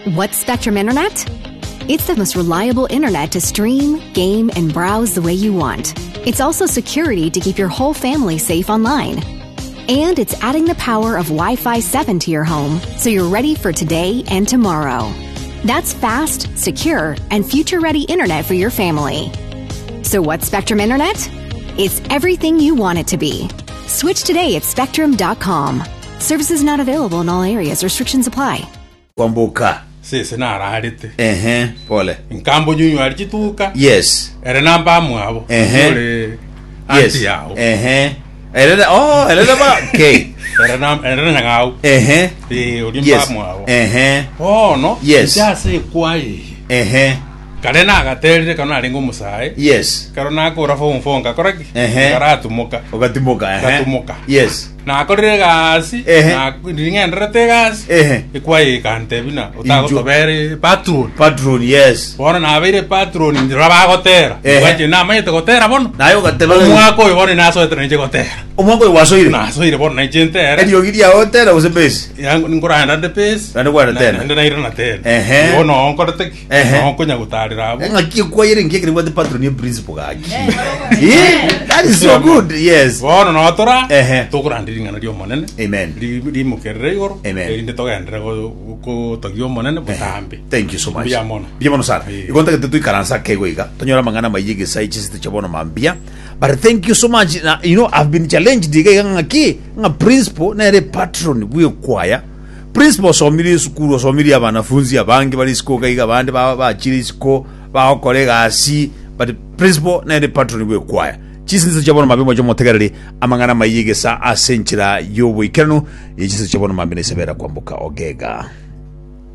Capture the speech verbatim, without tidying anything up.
What's Spectrum Internet? It's the most reliable internet to stream, game, and browse the way you want. It's also security to keep your whole family safe online. And it's adding the power of Wi Fi seven to your home so you're ready for today and tomorrow. That's fast, secure, and future ready internet for your family. So, what's Spectrum Internet? It's everything you want it to be. Switch today at spectrum dot com. Services not available in all areas. Restrictions apply. Kwamboka. Sese nararete. Ehe, pole. Nkambo nyunyu chituka. Yes. Ere namba mwabo. Ehe. Ore Yes. anti yao. Ehe, erere, oh, erere ba okay. Ere na ere nyang'au. Ehe. Eh, ori Yes. mba mwabo. Ehe. Bono Yes. inche kwaye. Ehe. Kare nagaterire kano narenga omosae. Yes. Karo nakora form four ngakora ki? Ehe. Nkaratumuka. Ogatimoka, ehe. Ngatumuka. Yes. Nakorire egasi. Ehe. Na ng'enderete egasi. Ehe. Ekwaye ekantebi na otagotobere patron. Patron, yes. Bono nabeire patron ndira bagotera. Ehe. Gwache namanyete gotera bono. Naye ogateba. Omwaka oyo bono nasoete nainche gotera. Omwaka oyo wasoire. Nasoire bono nainche ntere. Eriogi riao tera gose bass? Yangu nkoranda nde bass. Naende kwarenda tena. Naende nairana tena. Ehe. Bono nkorete ki? Ehe. Noho nkonya gotarera abo. Ng'aki ekwayere nki ekere bwate patron ye principal gaki? Eh, that is so good. Yes. Bono notora Ehe. tokoranda ring'ana ria omonene. Amen. Ri- rimokerere igoro. Amen. Erinde togenderere go- gotogia omonene botambe. Thank you so much. Mbuya mono. Mbuya mono sana. Eh. Igo ntagete tuikaransa kego iga. Tonyora amang'ana maiye gesai chisete chia bono mambia. But thank you so much. Na, you know, I've been challenged iga iga ng'aki ng'a principal nere patron bw'ekwaya. Principal osomire esukuru, osomire abanafunzi abange bari isiko iga iga, abande ba- bachire isiko bagokora egasi, but principal nere patron bw'ekwaya. Chisinse chia bono mambia moche motegereri amang'ana maiye gesa ase enchera y'oboikeranu ye chinse chia bono mambia nesebera kwamboka ogega.